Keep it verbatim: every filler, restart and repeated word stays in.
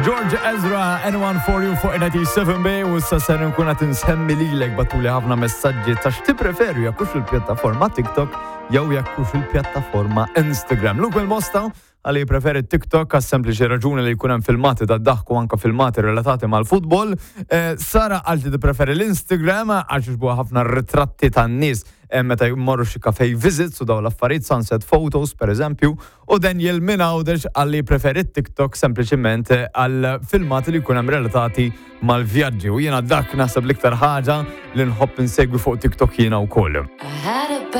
George Ezra, Anyone For You fuq ninety-seven B, u issa ser nkun qed insemmi lilek. Bagħtuli ħafna messaġġi ta' x'tippreferu, jekk hux il-pjattaforma TikTok jew jekk hux il-pjattaforma Instagram. Luke Mosta għalli preferi TikTok għas sempliċi raġuni li jkun hemm filmati ta' daħku, anka filmati relatati mal-futbol. Eh, Sara qaltli tippreferi l-Instagram għax jogħġbuha ħafna ritratti tan-nies eh, meta jmorru xi cafe visits u daw l-affarijiet, sunset photos per eżempju, u Daniel minn Għawdex qalli preferi TikTok sempliċiment eh, għal filmati li jkun hemm relatati mal-vjaġġi, u jiena dak naħseb l-iktar ħaġa li nħobb insegwi fuq TikTok jiena wkoll. I had a